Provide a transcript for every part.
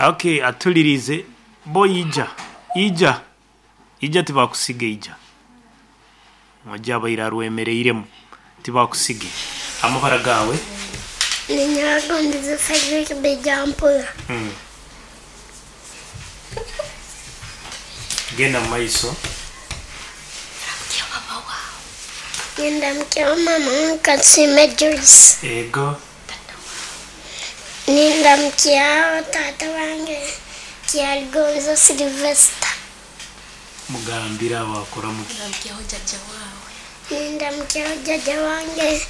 Okay, atulirize bo ija ija ija tibakusiga ija oja abaire arwemereiremu tibakusige amabara gawe. Ninyagondize Frederick Bejampura. Genda mumaiso. Nindamukyaho mama wange Kansiime Joyce. Ego. Nindamukyaho taata wange Kyaligonza Sylvester. Mugambire awo akoramuki. Ndamukyaho jjajja waawe. Nindamukyaho jjajja wange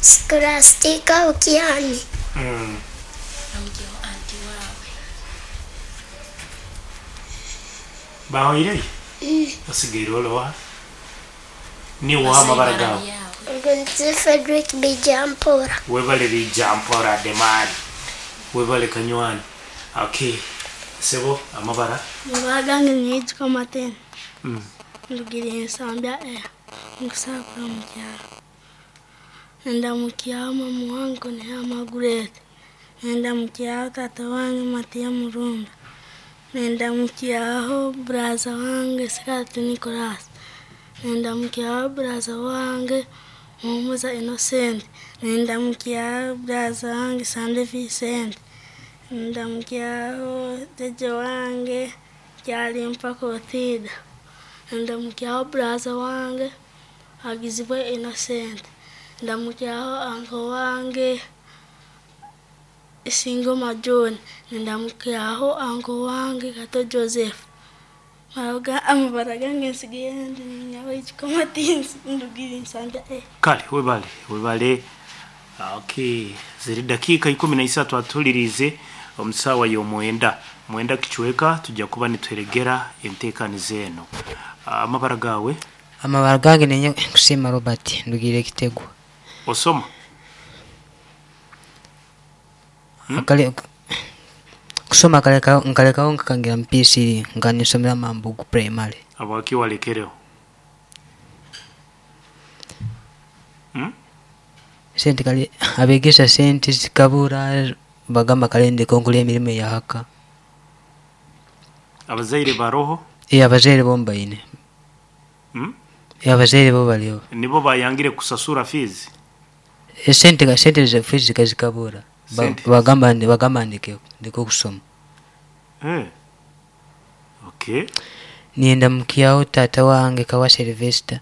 Scholastica Okiani. Ndamukyaho anti waawe. Bahoireyo? Osigaire oloha? Niwe oha amabara gawe? Ogondize Frederick Bejampura. Webale Bijampora the man. Webale kanywani. Okay. Sebo amabara. Amabara gange niitwa Martin. Ndugire Nsambya A nkusakura mu kyaro. Ndamukyaho mama wange Nihama Margaret. Ndamukyaho tata wange Matiya Murunda. Ndamukyaho buraza wange Sikati Nicholas. Ndamukyaho buraza wange Muhumuza Innocent. Ndamukyaho buraza wange Sande Vincent. Ndamukyaho jjajja wange Kyalimpa Clotilda. Ndamukyaho buraza wange Agizibwe Innocent. Ndamukyaho anko wange Isingoma John. Ndamukyaho anko wange Kato Joseph. Amabara gange nsigaye ndi Nyabaijiko Martin ndugire Nsambya A. Kale webale webale. Okay, ziri dakika 13 atulirize omusawa y'omwenda mwenda kichweka tujja kuba nitweregera enteekaniza eno. Amabara gawe? Amabara gange nenye kusima Robert ndugire Kitegwa. Osoma? Akale kusoma kaleka nkalekaho nkakangira mu P3 nga nisomera Mambugu primary. Abaki walekereho? Sente kale abegesa sente zikabura bagamba kale ndeke nkole emirimu eyahaka. Abazaire baroho? Abazaire bo mbaine. Abazaire bo baliho. Nibo bayangire kusasura fees? Sente sente za fees zikabura. Bagamba bagamba ndeke ndeke okusoma. Okay. Nienda mukyaho tata wange Kawa Sylvester.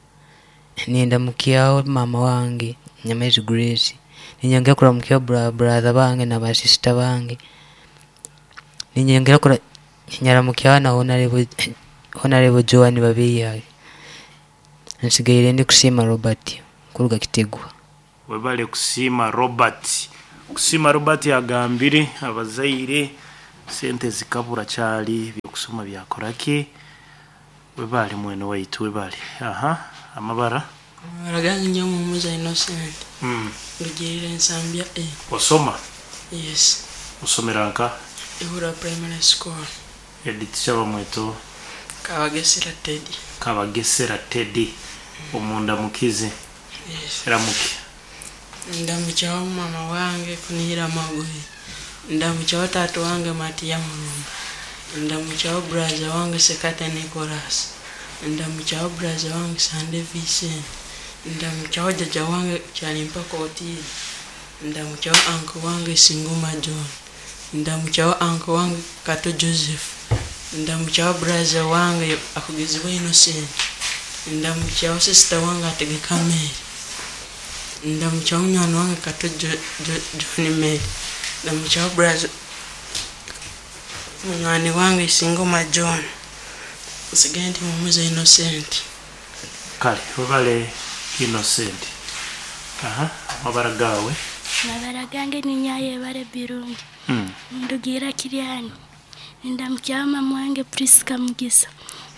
Nienda mukyaho mama wange Nyamezi Grace. Ninyongera kuramukyaho brother bange na ba sister bange. Ninyongera kura nyaramukyaho na Honorable Joan Babiyage. Nsigaire ndi kusima Robert kuruga Kitegwa. Webale kusima Robert. Kusima Robert agambire abazaire sente zikabura kyali byokusoma byakoraki. Webale mwene waitu webale. Aha, amabara. Amabara gange nyowe Muhumuza Innocent. Ndugirire Nsambya A. Osoma? Yes. Osomera nka? Ihura Primary School. Edith Kyabamweto. Kabagesera Teddy. Kabagesera Teddy. Omunda mukize. Yes. Ramuki. Ndamukyaho mama wange Kunihira Magoye. Ndamukyaho tata wange Matiya Murumba. Ndamukyaho buraza wange Sekata Nicholas. Ndamukyaho buraza wange Sande Vincent. Ndamukyaho jjajja wange Kyalimpa Clotilda. Ndamukyaho anko wange Singuma John. Ndamukyaho anko wange Kato Joseph. Ndamukyaho buraza wange Akugizibwe Innocent. Ndamukyaho sister wange Ategeka Mary. Ndamukyaho munywani wange Kato John Mary. Ndamukyaho buraza munywani wange Singoma John. Nsigaye ndi Muhumuza Innocent. Kale webale Innocent. Aha, amabara gawe. Amabara gange ni Nyayebare Birungi. Ndugira Kiryani. Ndamukyaho mama wange Priska Mugisa.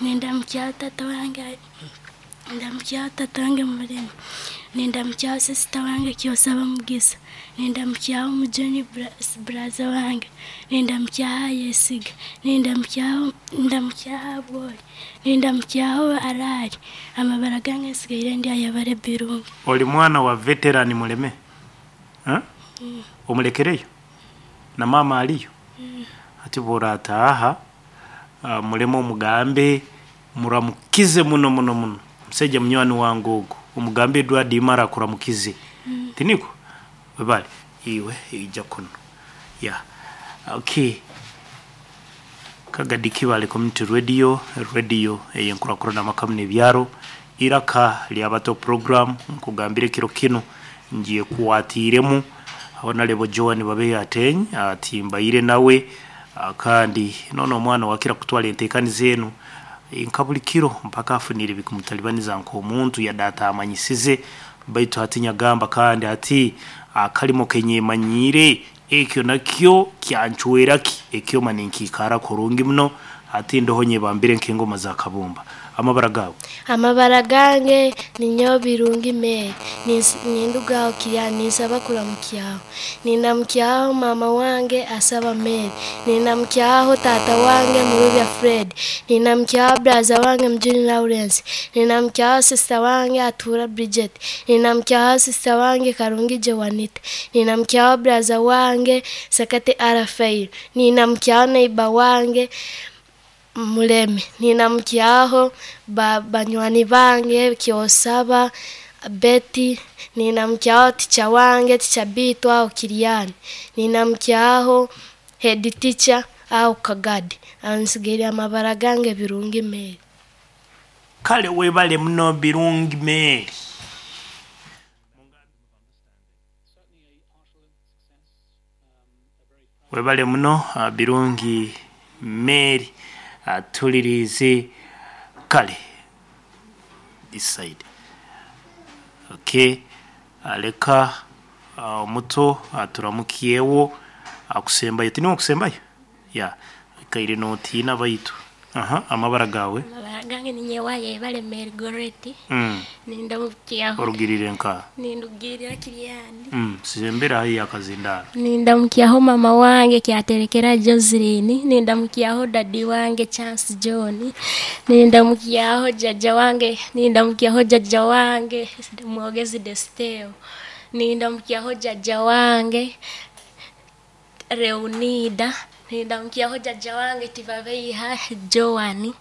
Ndamukyaho tata wange Ndamukyaho tata wange Murema. Ndamukyaho sister wange Kyosaba Mugisa. Ndamukyaho Mujoni braza wange. Ndamukyaho Yesiga. Ndamukyaho Abwoli. Ndamukyaho Arari. Amabara gange nsigaire ndi Ayebare Birungi. Oli mwana wa veteran Muleme? Omulekereyo? Na mama aliyo? Ati bw'orataaha muleme omugambe muramukize muno muno muno. Musaija munywani wange ogu omugambe Edward Imara akuramukize. Tiniko? Webale iwe ija kuno. Ya. Okay. Kagadi Kibale Community Radio, radio eyenkurakurana amakamu n'ebyaro, iraka ly'abato program nkugambire kiro kinu ngiye kuwatiremu Honorable Joan Babeya Ateny ati mbaire nawe kandi nono omwana wakira kutwala entekaniza enu nka buli kiro mpaka afunire bikumutalibaniza nk'omuntu yadde atamanyisize baitu hati nyagamba kandi ati akalimo kenyemanyiire ekyo nakyo kyancweraki ekyoma ninkiikara kurungi muno ati ndoho nyebambire nk'engoma za kabumba. Amabara gawe? Amabara gange ninyowe Birungi Mary. Nindugaho Kirya ninsaba kuramukyaho. Nindamukyaho mama wange asaba Mary. Nindamukyaho tata wange Murubya Fred. Nindamukyaho braza wange Mjuni Lawrence. Nindamukyaho sister wange Atura Bridget. Nindamukyaho sister wange Karungi Joanita. Nindamukyaho braza wange Sakate Arafael. Nindamukyaho neighbor wange Muleme. Ninamukyaho banywani bange Kyosaba Betty. Ninamukyaho ticha wange ticha Bitwa aho Kiryani. Ninamukyaho head teacher aho Kagadi. Ansigaire amabara gange Birungi Mary. Kale webale muno Birungi Mary. Webale muno Birungi Mary. Atulirize kale this side. Okay, aleka omuto aturamukiyewo akusembayo tiniwo okusembayo ya kaire notiina baitu. Aha, amabara gawe? Amabara gange ninyewaye Ebale Mary Goreti. Nindamukyaho. Orugirire nka? Nindugirira Kiryani. Sembera haihi akazindaro. Nindamukyaho mama wange kyaterekera Joseline. Nindamukyaho dadi wange Chance John. Nindamukyaho jajja wange, nindamukyaho jajja wange Mwogezi Desteo. Nindamukyaho jajja wange Reunida. Nindamukyaho jajja wange Tivabeiha Joan.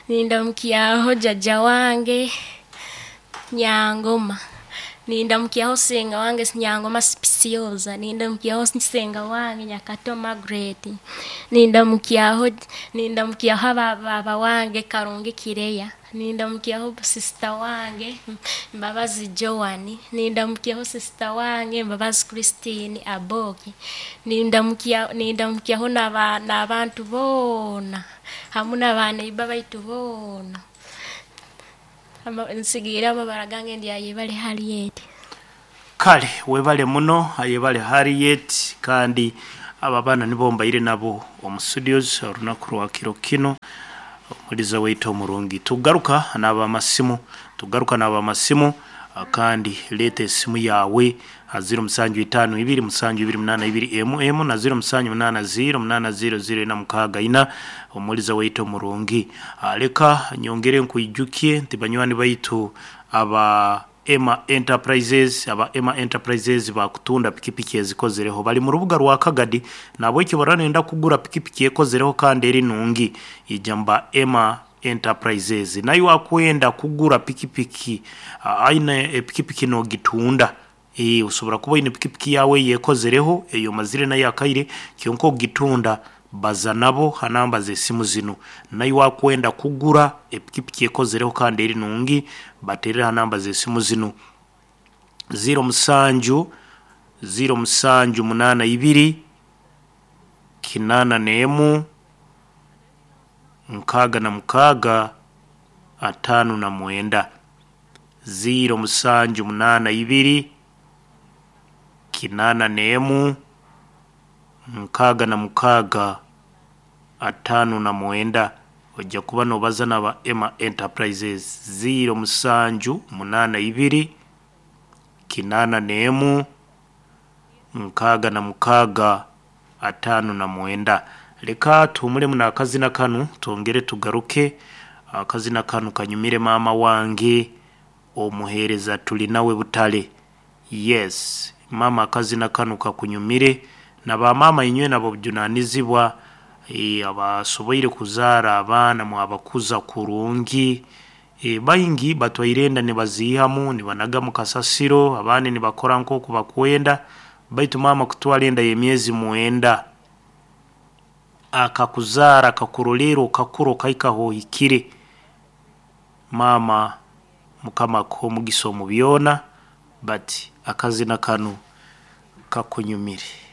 Nindamukyaho jajja wange Nyangoma. Nindamukyaho senga wange Nyangoma Spiciosa. Nindamukyaho senga wange Nyakato Margaret. Nindamukyaho baba wange Karungi Kireya. Nindamukyaho sister wange Mbabazi Joan. Nindamukyaho sister wange Mbabazi Christine Aboki. Nindamukyaho n'abantu boona hamu n'abaneiba baitu boona. Nsigaire amabara gange ndi Ayebale Harriet. Kale webale muno Ayebale Harriet, kandi aba baana nibo mbaire nabo omu studios olunaku lwa kiro kino. Omuliza waitu omurungi. Tugaruka n'abamasimu, tugaruka n'abamasimu kandi leeta esimu yawe 0752 728 MM na 0780 800 64. Omuliza waitu omurungi. Leka nyongere nkwijukie nti banywani baitu aba Emma Enterprises, aba Emma Enterprises bakutunda pikipiki ezikozereho bali mu rubuga rwa Kagadi nabo ekyo baranenda kugura pikipiki ekozereho kandi eri nungi ijamba Emma Enterprises. Nayo akwenda kugura pikipiki aina pikipiki no gitunda usobora kuba ine pikipiki yawe yekozereho eyo mazire nayo akaire kyonko gitunda baza nabo hanamba z'esimu zino. Nayo akwenda kugura epikipiki ekozereho kandi eri nungi baterera hanamba z'esimu zino 07 07 82 81 66 59 07 82 81 66 59. Ojja kuba nobaza naba Emma Enterprises 07 82 81 66 59. Leka tuhumulemu n'akazina kanu twongere tugaruke. Akazina kanu kanyumire mama wange omuheereza tuli nawe butale. Yes, mama akazina kanu kakunyumire na bamama inywe nabo bujunanizibwa. Abasoboire kuzaara abaana mwabakuza kurungi. Baingi batwaire enda nibaziihamu nibanaga mu kasasiro, abandi nibakora nkooku bakwenda, baitu maama kutwara enda y'emyezi 9, akakuzaara akakurolerra okakura okahika h'ohikire, maama mukama akuhe omugisa omu byoona, but akazina kanu kakunyumire.